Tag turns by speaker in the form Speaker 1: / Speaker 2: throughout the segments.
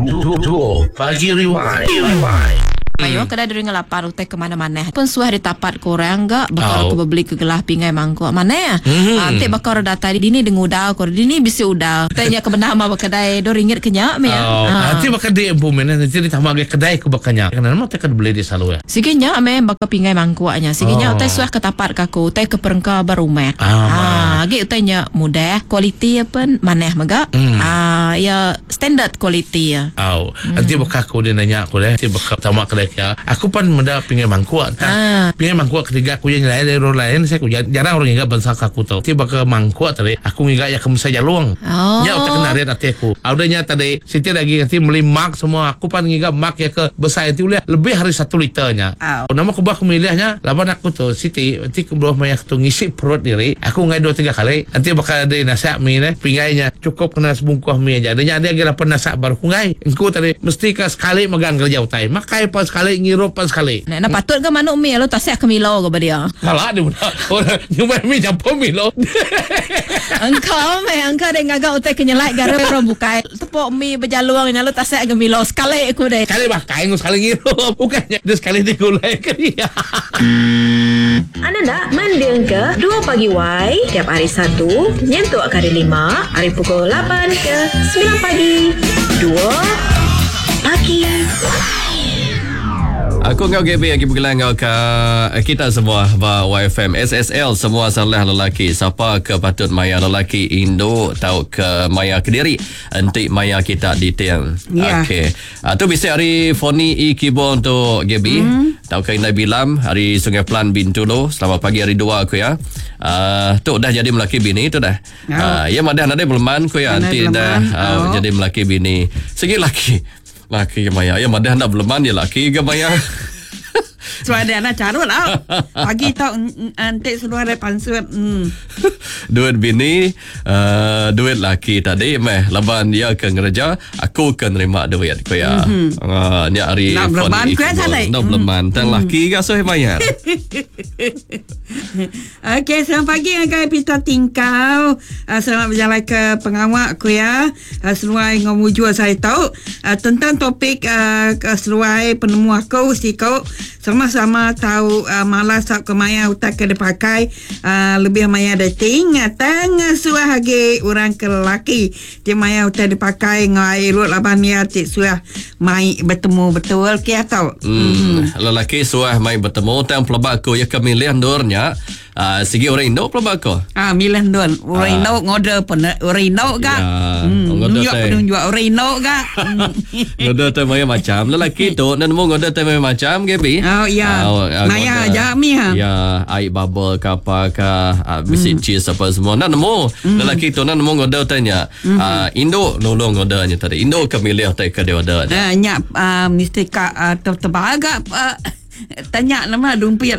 Speaker 1: Dua Pagi Rewind.
Speaker 2: Mayuh kedai diri ngelapan utai ke manah-manah pun suah ditapat ke orang ga baka
Speaker 1: Au.
Speaker 2: ke bebeli ke gelah pinggai mangkuk manah.
Speaker 1: Mhm.
Speaker 2: Ah, enti baka orang datai dini deng udal ko dini bisi udal. Utai nya ke bendar ma ba kedai dua ringgit ke nya mih.
Speaker 1: Au.
Speaker 2: Ah.
Speaker 1: Enti baka di empu mih nanti ditambah agi kedai ke baka nya. Kena nama utai ke dibeli di selalu ya.
Speaker 2: Sigi nya meh baka pinggai mangkuk nya. Sigi nya
Speaker 1: Oh.
Speaker 2: utai suah ke tapat ke aku utai ke perengka ba rumah.
Speaker 1: Ah,
Speaker 2: Ah, agi utai nya mudah, kualiti iya pen manah mega. Ah, iya Standard kualiti iya.
Speaker 1: Au. Enti baka aku deh nanya aku deh, enti baka tama kedai kia, aku pan meda pingai mangkuk tang. Pingai mangkuk ketiga aku iya nyelai ari orang lain sai ku jarang orang ngiga bansa ke aku tu. Enti baka mangkuk tadi aku ngiga iya ke mesai jalung. Nya utai ke narit ati aku. Au udah nya tadi siti da agi enti meli mug semua aku pan ngiga mug iya ke besai enti ulih lebih ari satu liter nya. Nama kebuah aku milih nya laban aku tu siti enti ke beluh maya aku tu ngisi perut diri aku enggai dua tiga kali. Enti baka di nasak mi deh pinggai nya. Cukup kena sebungkuh mi aja. Nya nya agi lapan nasak baru ku enggai. Engku tadi mesti ka sekali mega ngereja utai. Makai pan sekali, ngirup pan sekali.
Speaker 2: Enda patut ga manuk mi lalu tasik ke Milo ga ba dia.
Speaker 1: Kala dia meda orang nyumai mi nyampur Milo.
Speaker 2: Engka meh engka deh ngaga utai ke nyelai ga ari orang bukai. Tepuk mi bejalung nya lalu tasik ga Milo sekali ku deh.
Speaker 1: Sekali makai enggau sekali ngirup. Ukai nya dia sekali digulai ke dia.
Speaker 3: Anda enda mendingka Dua Pagi Wai tiap hari Satu nyentuk ke hari Lima ari pukul lapan ke semilan pagi. Dua Pagi.
Speaker 4: Aku enggau Gaby agi begulai enggau ka kita semua ba YFM SSL semua salah lelaki sapa ke patut maya lelaki indu tauka maya kediri enti maya kita diting.
Speaker 5: Ya.
Speaker 4: Okey. Ah, tu bisi ari Foni E Kibong tu Gaby mm. tauka Indai Bilam ari Sungai Pelan Bintulu. Selamat pagi hari dua aku ya. Ah, tu dah jadi melaki bini tu dah.
Speaker 5: Oh.
Speaker 4: Ah, ya madah nadai beleman ku ya
Speaker 5: Nadai
Speaker 4: nanti dah
Speaker 5: beleman.
Speaker 4: ah,
Speaker 5: Oh.
Speaker 4: jadi melaki bini. Segi laki. Laki ke maya. Ya madah enda beleman ya laki ke maya.
Speaker 5: Sebab dia nak carut lah. Pagi tau enti seluar dia pansut. Hmm.
Speaker 4: Duit bini, uh, duit laki tadi meh laban dia ke ngereja, aku ke nerima duit ku iya. Mm-hmm. Uh, nya ari
Speaker 5: Nak beleman ku iya tadi.
Speaker 4: Nak beleman tang laki ga suah mayar.
Speaker 5: Okey, selamat pagi ngagai Peter Tingkau. Uh, selamat berjalai ke pengawa ku ya. Uh, seluai ngau mujur saya tau uh, tentang topik uh, ke seluai penemu aku siko sama-sama tahu uh, malas tau ke maya utai ke dipakai uh, lebih maya dating uh, tang uh, suah agi orang ke lelaki ti maya utai dipakai ngau ai rut laban ia ti suah mai betemu betul ke atau
Speaker 4: Hmm. Lelaki suah mai betemu tang pelaba aku ya ke milih endur nya uh, sigi orang indu pelaba aku.
Speaker 5: Ah, milih endun. Orang
Speaker 4: Ah.
Speaker 5: indu ngorder pun orang indu ga.
Speaker 4: Ya,
Speaker 5: Hmm,
Speaker 4: ngorder
Speaker 5: nunjuk
Speaker 4: teh.
Speaker 5: penunjuk orang indu ga. Hmm.
Speaker 4: Ngorder teh maya macam. Lelaki tu enda nemu ngorder teh maya macam Gaby.
Speaker 5: Oh, ya.
Speaker 4: Ah,
Speaker 5: Maya
Speaker 4: ngorder.
Speaker 5: aja mi, ha.
Speaker 4: Ya, air bubble ke apa ke, ah, bisi cheese apa semua. Enda nemu. Lelaki tu enda nemu ngorder teh nya. Ah, indu nulung ngorder nya tadi. Indu ke milih teh ke diorder nya.
Speaker 5: Ah, nya ah, mesti ka ah, tebal ga ah, tanya nama dumpit.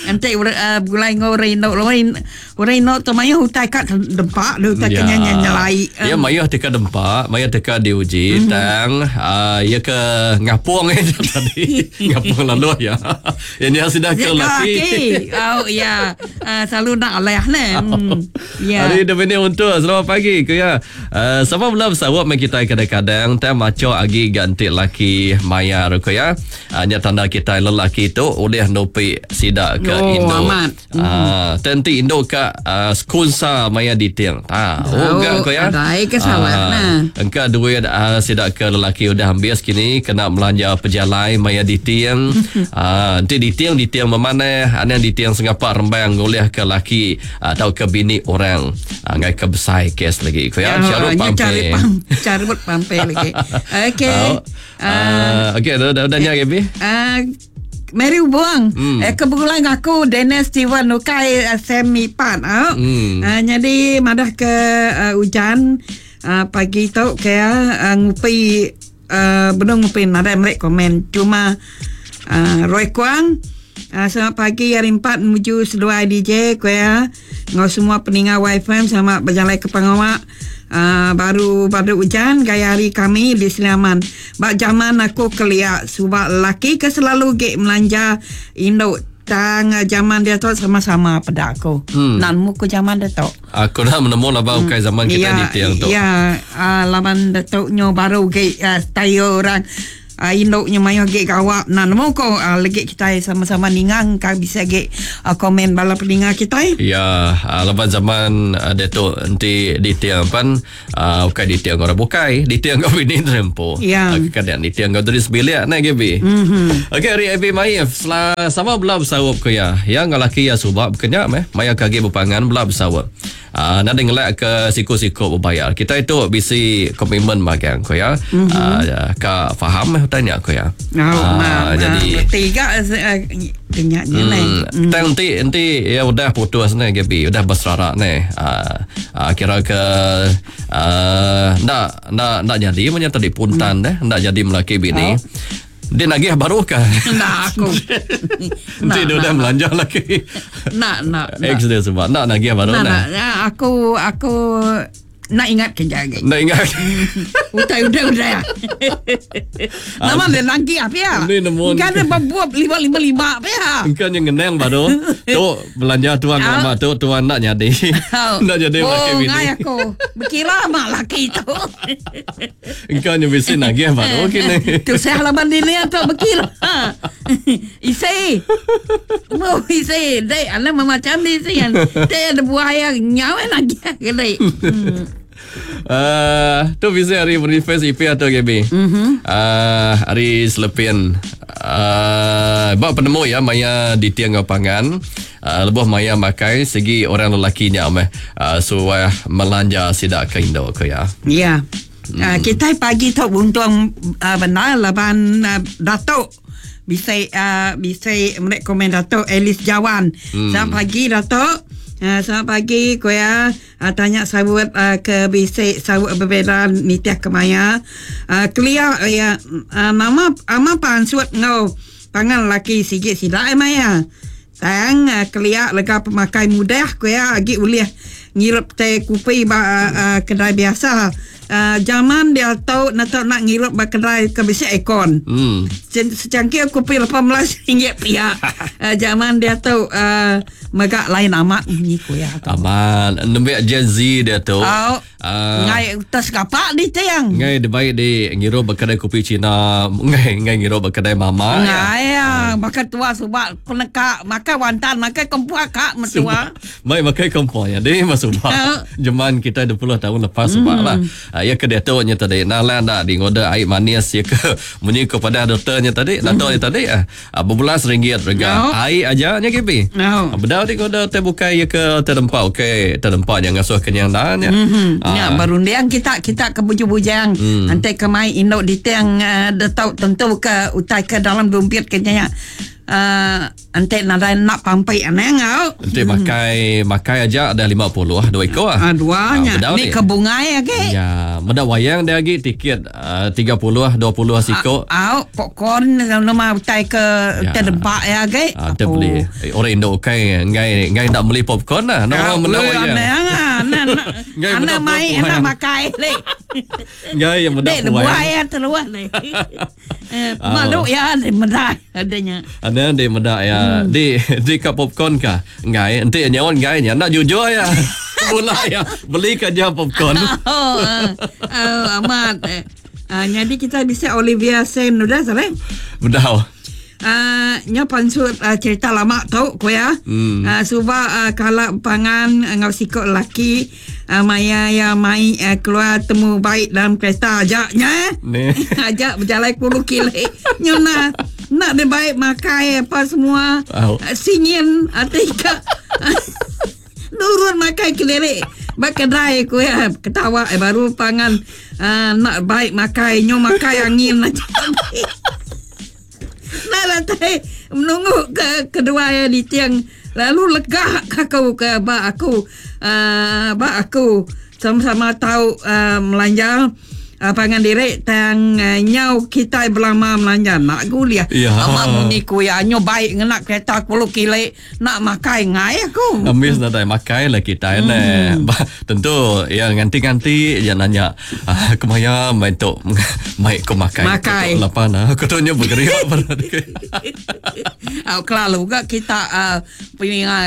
Speaker 5: Enti uh, begulai enggau orang indu, orang orang indu tu mayuh utai ka dempa, dia utai ke nya nyelai.
Speaker 4: Ya mayuh teka dempa, mayuh teka diuji mm-hmm. tang uh, ya ke ngapung eh tadi. ngapung lalu ya. Ya ni sudah ke
Speaker 5: Ya,
Speaker 4: laki.
Speaker 5: laki. Oh ya. Uh, selalu nak alah ne. Hmm. Ya.
Speaker 4: Hari Dominic untuk selamat pagi ke ya. Uh, sama belum sawap mai kita kadang-kadang tang maco agi ganti laki mayar ke ya. Uh, nya tanda kita lelaki tu oleh nupi sida ke
Speaker 5: Oh,
Speaker 4: Indo.
Speaker 5: amat.
Speaker 4: Ah, tentu Indo ka uh, skunsa maya diting. Ah, oh,
Speaker 5: Oh,
Speaker 4: gak ko ya.
Speaker 5: adai ke sawat nah.
Speaker 4: Engka duit uh, sida ke lelaki udah habis kini kena belanja pejalai maya diting. Ah, nanti diting diting memanah, anang diting sengapa rembang ngulih ke laki atau ke bini orang. Ah, ngai ke besai kes lagi ko ya. Carut
Speaker 5: nya
Speaker 4: pampe.
Speaker 5: cari pam, carut pampe lagi. Okey.
Speaker 4: Oh. Ah, okey dah dah dah nya Gaby.
Speaker 5: Ah, Mary Buang hmm. eh, Kebetulan aku Dennis Steven Ukai uh, Semi Pan oh.
Speaker 4: Hmm.
Speaker 5: Uh, jadi madah ke uh, hujan uh, pagi tu ke uh, ngupi uh, belum ngupi nadai mereka komen cuma uh, Roy Kuang uh, selamat pagi hari 4 menuju seduai DJ kuya ngau semua peninga YFM selamat berjalan ke pengawak Uh, baru baru hujan gaya hari kami di Seliaman. Bak zaman aku keliak subak lelaki ke selalu gek melanja induk Tang zaman dia tu sama-sama peda aku. Hmm. Nak nemu ku zaman dia tu.
Speaker 4: Aku dah menemu laba ukai zaman kita
Speaker 5: ya,
Speaker 4: diting tu.
Speaker 5: Ya, laban dia tu nyo baru ge style orang induk nyo mayuh ge gawak. Nak nemu ko legi kita sama-sama ningang ka bisa ge komen bala peninga kita.
Speaker 4: Ya, laban zaman dia tu enti diting pan ukai diting orang bukai, diting kau bini terempo.
Speaker 5: Ya.
Speaker 4: Kadang diting kau dari sebilik nak GB. Mm-hmm. Okey, hari Abi Maif sama belah bersawap ke ya. Yang lelaki ya subak berkenyak meh, maya kaki berpangan belah bersawap. Nak ngelak ke siku-siku berbayar. Kita itu bisi komitmen magang ko ya. Mm-hmm. Ka faham meh tanya ko ya.
Speaker 5: Oh, jadi tiga kenyaknya
Speaker 4: mm. Tang nanti nanti ya udah putus ni GB, udah berserak ni. Kira ke nak jadi macam tadi puntan deh, nak jadi melaki bini. Dia nagih baru ke?
Speaker 5: Nak aku.
Speaker 4: Nanti dia udah melanja lagi.
Speaker 5: Nak.
Speaker 4: Ex dia sebab nak nagih baru
Speaker 5: nak. Nak aku nak ingat kerja lagi.
Speaker 4: Nak ingat.
Speaker 5: Udah. Nama dia lagi apa ya? Kan dia berbuat 555 apa ya?
Speaker 4: Engkau yang ngenang baru. Tu belanja tuan lama tu tuan nak jadi. Nak jadi laki bini.
Speaker 5: Oh, ngai aku. Berkira mak laki tu.
Speaker 4: Engkau yang bisi nagih baru kini.
Speaker 5: Tu saya halaman dini tu berkira. Isi. Mau isi. Dek, ana macam ni sih. Dek ada buaya nyawa lagi kini.
Speaker 4: Tu bisa hari Boniface IP atau GB. Mm-hmm. Hari Selepin. Bak penemu ya maya di tiang pangan. Lebuh maya makai segi orang lelakinya meh suah melanja sidak ke Indo ke ya.
Speaker 5: Ya. Kita pagi tu untung benar laban Datuk bisa bisa mereka komen Datuk Alice Jawan. Selamat pagi Datuk. Selamat pagi koya tanya sawut ke bisik sawut berbeza nitiah kemaya clear ya nama ama pansut ngau pangan laki sikit silap maya tang clear lega pemakai mudah koya agi ulih ngirep teh kopi ba kedai biasa. Zaman dia tahu nak nak ngirep ba kedai ke bisik aircon. Secangkir kopi RM18 pia. Zaman dia tahu megak lain amat ni koya.
Speaker 4: Amat nembek Gen Z dia tu.
Speaker 5: Oh, ngai tas kapak di tiang.
Speaker 4: Ngai dia baik di ngirup kedai kopi Cina, ngai ngai ngirup kedai mama.
Speaker 5: Ngai ya, makan tua subak penekak, makan wantan, makan kompuak kak mertua.
Speaker 4: Baik makan kompuak ya. Dia masuk Zaman kita 20 tahun lepas sebab lah. Ya ke dia tu nya tadi. Nah lah dak di ngoda air manis ya ke munyi kepada doktornya tadi, doktornya tadi berbelas ringgit rega. Air aja nya KB.
Speaker 5: No.
Speaker 4: Bedau di ngoda teh bukai ya ke terdempak okey, terdempak yang ngasuh kenyang dah nya.
Speaker 5: Ya berundiang kita kita ke bujang-bujang. Nanti kemai induk di tiang dah tentu ke utai ke dalam dompet kenyang. Ante nadai nak pampai aneh ngau.
Speaker 4: Ante makai makai aja ada 50 dua ekor ah.
Speaker 5: Dua nya. Ni ke bungai age.
Speaker 4: Ya, meda wayang dia lagi tiket 30 20 siko.
Speaker 5: Au, popcorn nama utai ke terdempak ya age.
Speaker 4: Ante beli. Orang Indo kai ngai ngai nak beli popcorn lah. Nak meda wayang.
Speaker 5: Ana mai ana makai le.
Speaker 4: Ngai yang meda
Speaker 5: wayang terus le. Malu ya meda adanya.
Speaker 4: Ada di meda ya. Di di ke popcorn ka? Ngai, enti nyawan ngai nya nak jujur ya. Mula ya, beli kerja popcorn.
Speaker 5: Oh, amat. Jadi kita bisa Olivia Sen udah sore.
Speaker 4: Bedau.
Speaker 5: Nya pansut cerita lama tau ko ya. Suba kala pangan ngau sikok laki maya ya mai keluar temu baik dalam kereta ajaknya. Ajak berjalan puluh kilo. Nyona nak dia baik makai apa semua. Singin atika. Nurun makai kelirik. Bak kedai ku ya ketawa baru pangan nak baik makai nyo makai angin aja. Nah lantai menunggu ke kedua ya di tiang lalu legah aku ke bak aku bak aku sama-sama tahu melanja Pangan diri tang nyau kitai belama melanja enda gulih.
Speaker 4: Ya.
Speaker 5: Ama munyi ku iya nyu baik ngena kereta kulu kili enda makai enggai aku.
Speaker 4: Ambis nadai makai lah kitai neh. Bah tentu iya nganti-nganti iya nanya ah kemaya meh tu mai ku makai.
Speaker 5: Makai.
Speaker 4: Tu lapan ah aku tu nyu begeriak baru.
Speaker 5: Au kelalu ga kita uh, Peninga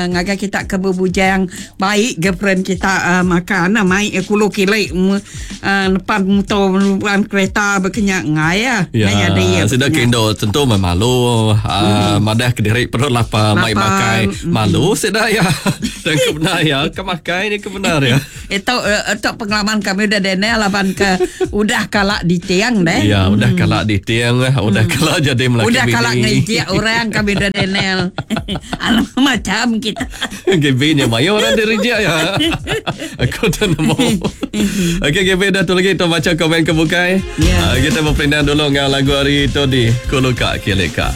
Speaker 5: ngagai kita ke bebujang baik girlfriend kita makan mai iya kulu kili nepan motor nepan kereta baka nya enggai iya.
Speaker 4: Ya,
Speaker 5: Enggai nyadi iya
Speaker 4: sida
Speaker 5: baka
Speaker 4: ke
Speaker 5: nya.
Speaker 4: indu tentu meh malu madah kediri perut lapar mai
Speaker 5: Lapar.
Speaker 4: makai malu sida iya. Tang ke bendar iya ke makai nya ke bendar iya.
Speaker 5: Itu itu pengalaman kami udah dene laban ke udah kala ditiang deh.
Speaker 4: Ya, udah kala diting, udah kala jadi melaki
Speaker 5: Udah
Speaker 4: bini.
Speaker 5: kala ngejek orang kami udah Daniel. Alam macam kita.
Speaker 4: GB nya mayuh orang direjek ya. Aku tak nemu. Okey GB dah tu lagi tu baca komen ke bukai.
Speaker 5: Ya.
Speaker 4: Ah, kita berpindah dulu dengan lagu hari itu di Kuluka Kilika.